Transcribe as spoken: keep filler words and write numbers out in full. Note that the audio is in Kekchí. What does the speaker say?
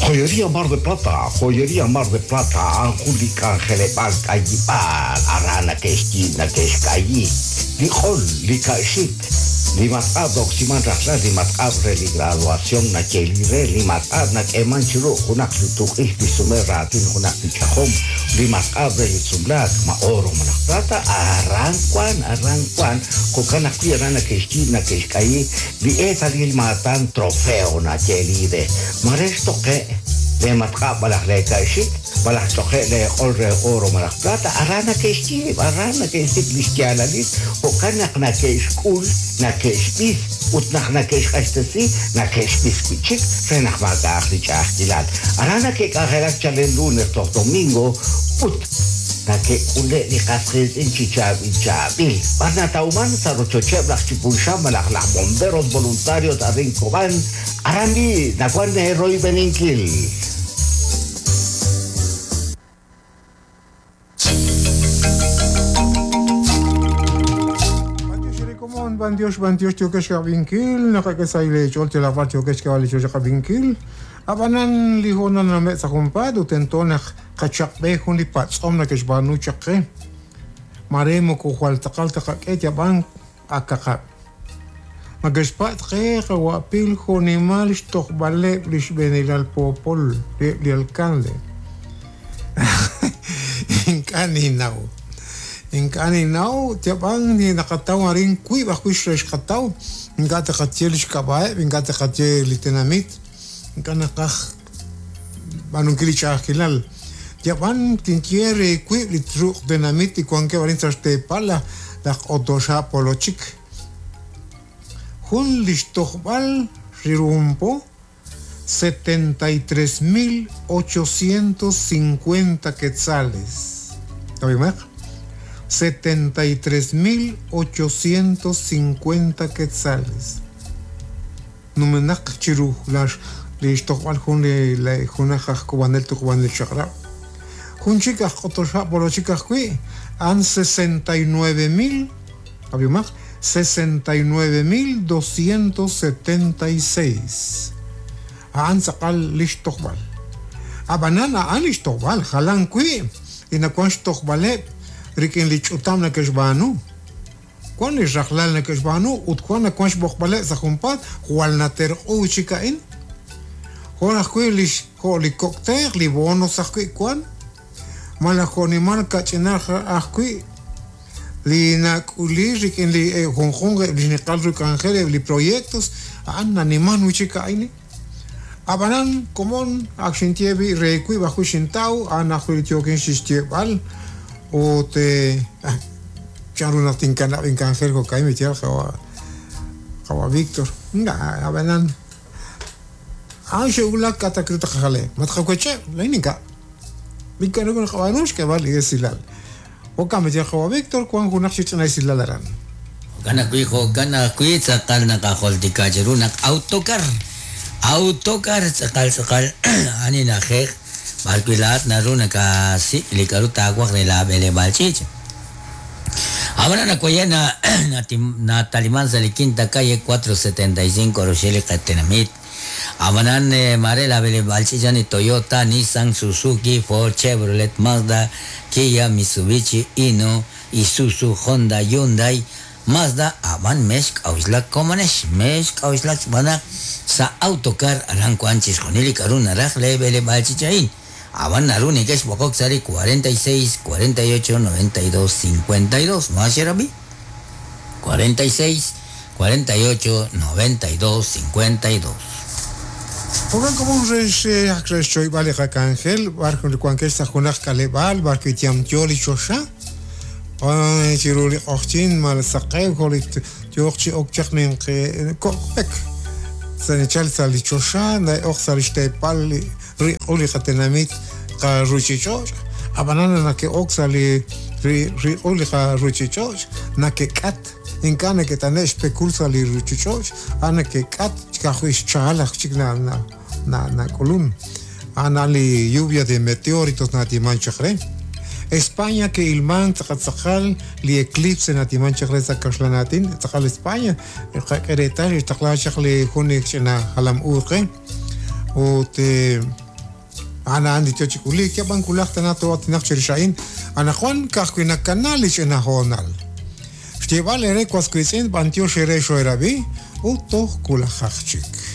Joyería Mar de Plata, Joyería Mar de Plata, Anjuli K'anjeleb'aal k'ayib'aal, aran nake'xyiib' nake'xk'ayi, li q'ol, li ka'xik, li matq'ab' roksiman rajlal, li matq'ab' re li graduación nayeeli re, li matq'ab' nak'eeman chiru junaq li tuq'ix li sume raatin junaq li ch'ajom, li matq'ab' re li sumlaak, ma oro malaj plata, aran wan, aran wan, jo'kan ajwi' aran nake'xyiib' nake'xk'ayi, li eetalil maatan trofeo nayeeli re, mare xtoqe' le matq'ab' malaj le ka'xik, malaj ch'oqe' le q'ol re oro malaj plata, aran nake'xyiib', aran nake'xsik' li xyaalalil, jo'kan naq nake'xk'ul, nake'xb'is, ut naq nake'xq'axtesi, nake'xb'is wi' chik, re naq maak'a'aq li ch'a'ajkilal. Aran nake'k'anjelak chalen lunes toj domingo, ut nake'k'ule' li qas qiitz'in chi chaab'il chaab'il. B'ar natawman sa' rochocheb' laj Chipulxan malaj laj bomberos voluntarios arin Cobán, aran bi nawan royb'eninkil. Bandiosh, bandiosh, tiokesh kabinkil, nakakasay chol tilapar tiokesh kawali chol kabinkil. Abanan lihona na me sa kumpad, utento na kachakbe hun li patsom na keshbanu chakre. Maremo kuhual takal takak yaban akakap. Magashpat ke kawapil honimal shtokbale lishbenilal popol li alcalde. Inkaninaw. Inkaninaw, tiabang ni nakataw arin kui bakuish reshkataw, ingata katiel shkabae, ingata katiel tenamit, inkanakaj banunkili chakilal. Tiabang tinkiere kui litruk tenamit y kuanke varin traste pala lak otosha polochik. Jun lishtojbal rirumpo setenta y tres mil ochocientos cincuenta quetzales. ¿Está setenta y tres mil ochocientos cincuenta quetzales. Numenak chiru las lishtojbal jun le le junajaj kubanel tu kubanel chakra. Jun chicas otosha polochicas kui an sesenta y nueve mil, abiumak sesenta y nueve mil doscientos setenta y seis. Aan sakal lishtojbal. Abanana an lishtojbal jalan kui inakuan shtojbale rikin lichutam na keshbanu. Kuan li rajlal na keshbanu ut kuan na kuan shbojbale sa jumpat hual na ter'u chikain. Juan ajui lish jo li cóctel li bonos ajui kuan. Malajonimal kachinaj ajui li nakuli rikin li junjun li niqal rukangel li proyectos an animan wichikaini. Abanan komon akshintiebi rekui bajo shintau an ajui tiokin shishtiebal o te charuna tinkana inkangel ko kai mitial jawa jawa Víctor nga abanan an shegula katakruta jale matjakueche leininka Mikano con jabanush que vale esilal. O kametial jawa Víctor kuan junaj chichana esilal aran. Kana kui jo kana kui tzakal nakajoltika cherunak autocar. Autocar tzakal tzakal ani najej barkuilat naruna ka si likaruta agua de la bele balchich. Ahora na koyena na Talimán sali quinta calle cuatro setenta y cinco Rochelle Catenamit. Amanan Marela Bele Balchichani Toyota, Nissan, Suzuki, Ford, Chevrolet, Mazda, Kia, Mitsubishi, Hino, Isuzu, Honda, Hyundai, Mazda, aban meshk auslak komanesh, meshk auslak bana sa autocar aran kuanchis jonili karuna rajle Bele Balchichain. Aban naruni kesh bokok sari cuarenta y seis, cuarenta y ocho, noventa y dos, cincuenta y dos. ¿No hace cuarenta y seis, cuarenta y ocho, noventa y dos, cincuenta y dos. Ogan como un resh akresh choy vale rakangel barco el cuanquesta junaj kalebal barco tiam tioli chosha ay chiruli ochtin mal saqew kolit tiochi okchaqnin kokpek sanechal sali chosha na och salistepal ri uli qatenamit qaruchichoch abanana na que oxali ri ri uli qaruchichoch na que kat inkana que tanesh pekulsa li ruchichoch ana que kat chkajuish chalaj chikna na na na kolun ana li lluvia de meteoritos na timanchakre España que ilman tzakal li eclipse na timanchakre tzakaxlanatin tzakal España qeretal taqlachaq li junik na halam urqe o te Ana andi yo chikulik, ya b'an kulaj tana toatinaq chirix a'in, anaqwan ka'ajwi' nakana li ch'ina hoonal. Xyeeb'al ere was wiitz'in b'antiox ere xoerab'i ut toj kulajaq chik.